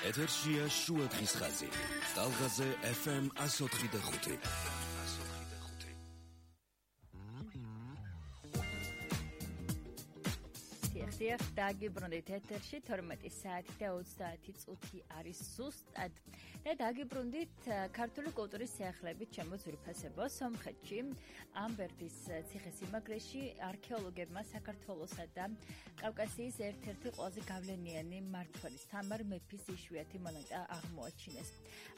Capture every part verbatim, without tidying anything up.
ეთერშია შუა დღის ხაზი. ტალღაზე ეფ ემ εκατო ოთხი და ხუთი. ხდიახ დაგიბრუნდით ეთერში თორმეტი საათი და ოცდაათი წუთი არის ზუსტად. და დაგიბრუნდით ქართული კულტურის სიახლეებით ჩემო ძვირფასებო სომხეთში ამბერდის ციხესიმაგრეში არქეოლოგებმა საქართველოსა და კავკასიის ერთ-ერთი ყველაზე გავლენიანი მმართველის თამარ მეფის იშვიათი მონეტა აღმოაჩინეს.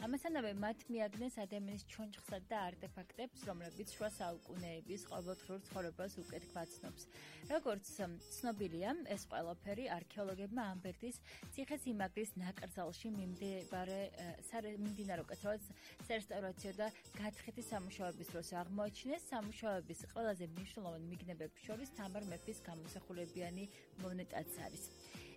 ამასთანავე მათ მიაგნეს ადამიანის ჩონჩხსა და არტეფაქტებს, რომლებიც შუა საუკუნეების ყოველდღიურ ცხოვრებას უკეთ გვაცნობს. როგორც ცნობილია, ეს ყველაფერი არქეოლოგებმა ამბერდის ციხესიმაგრის ნაკრძალში მიმდებარე მიმდინარე უკეთროა სარესტავრაციო და გათხრითი სამუშაოების დროს აღმოაჩინეს. სამუშაოების ყველაზე მნიშვნელოვანი მიგნებების შორის თამარ მეფის გამოსახულებიანი მონეტაც არის.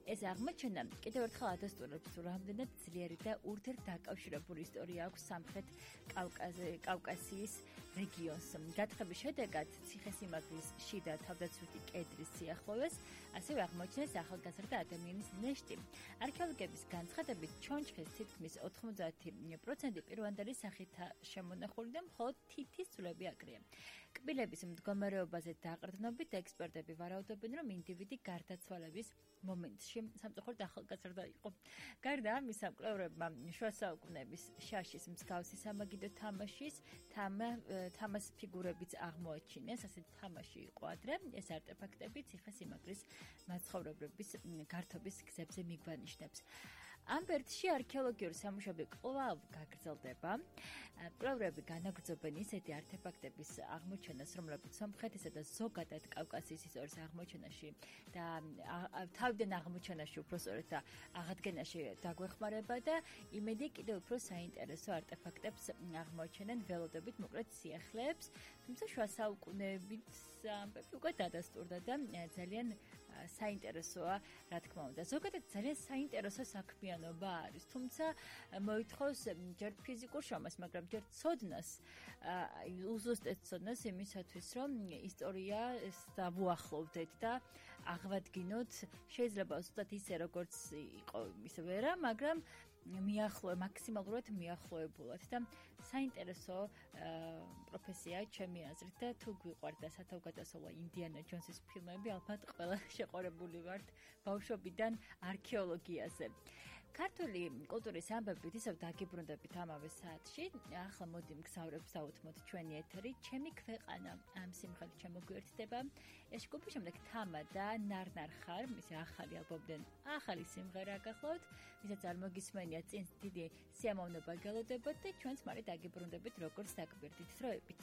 ეს აღმოჩენა კიდევ ერთხელ ადასტურებს, რომ რამდენად ძლიერი და ურთიერთდაკავშირებული ისტორია აქვს სამხრეთ კავკასიის რეგიონს. გათხრების შედეგად ციხესიმაგრის შიდა თავდაცვითი კედრის სიახლოვეს ასევე აღმოჩნეს ახალგაზრდა ადამიანის ნეშტი. არქეოლოგების განცხადებით, ჩონჩხის თითქმის ოთხმოცდაათი პროცენტი პირვანდელი სახითაა შემონახული და მხოლოდ თითის ძვლები აკრია. კბილების მდგომარეობაზე დაყრდნობით ექსპერტები ვარაუდობენ, რომ ინდივიდი გარდაცვალების მომენტში სამწუხაროდ ახალგაზრდა იყო. გარდა ამისა, მკვლევრებმა შუა საუკუნეების შაშის მსგავსი სამაგიდო თამაშის თამას ფიგურებიც აღმოაჩინეს. ასეთი თამაში იყო ადრე. ეს არტეფაქტები ციხესიმაგრის მაცხოვრებლების გართობის გზებზე მიგვანიშნებს. ამბერდში არქეოლოგიური სამუშაოები კვლავ გაგრძელდება. მკვლევრები განაგრძობენ ისეთი არტეფაქტების აღმოჩენას, რომლებიც სომხეთისა და ზოგადად კავკასიის ისტორიის აღმოჩენაში და თავიდან აღმოჩენაში უფრო სწორედ და აღადგენაში დაგვეხმარება და იმედი კიდევ უფრო საინტერესო არტეფაქტებს აღმოჩენენ ველოდებით მოკლედ სიახლეებს. თუმცა შუა საუკუნეებით ამბები უკვე დადასტურდა და ძალიან საინტერესოა, რა თქმა უნდა. ზოგადად ძალიან საინტერესო საქმიანობა არის, თუმცა მოითხოვს ჯერ ფიზიკურ შრომას, მაგრამ ჯერ ცოდნას, უზუსტად ცოდნას იმისათვის, რომ ისტორიას დავუახლოვდეთ და აღვადგინოთ. შეიძლება ზუსტად ისე, როგორც იყო ისე ვერა, მაგრამ მიახლოე მაქსიმალურად მიახლოებულად და საინტერესო პროფესია ჩემი აზრით და თუ გვიყვართ და სათავგადასავლა ინდიანა ჯონსის ფილმები, ალბათ ყველა შეყარებული ვართ ბავშვობიდან არქეოლოგიაზე. ქართული კულტურის ამბებით ისევ დაგიბრუნდებით ამავე საათში. ახლა მოდი მგზავრებს დავუთმოთ ჩვენი ეთერი, ჩემი ქვეყანა ამ სიმღერით შემოგვიერთდება. ეს ჯგუფი შემდეგ თამა და ნარნარ ხარ, მისი ახალი ალბომიდან ახალი სიმღერა გახლავთ, ვისაც არ მოგისმენია წინ დიდი სიამოვნება გელოდებათ და ჩვენც მალე დაგიბრუნდებით როგორც დაგვერდით დროებით.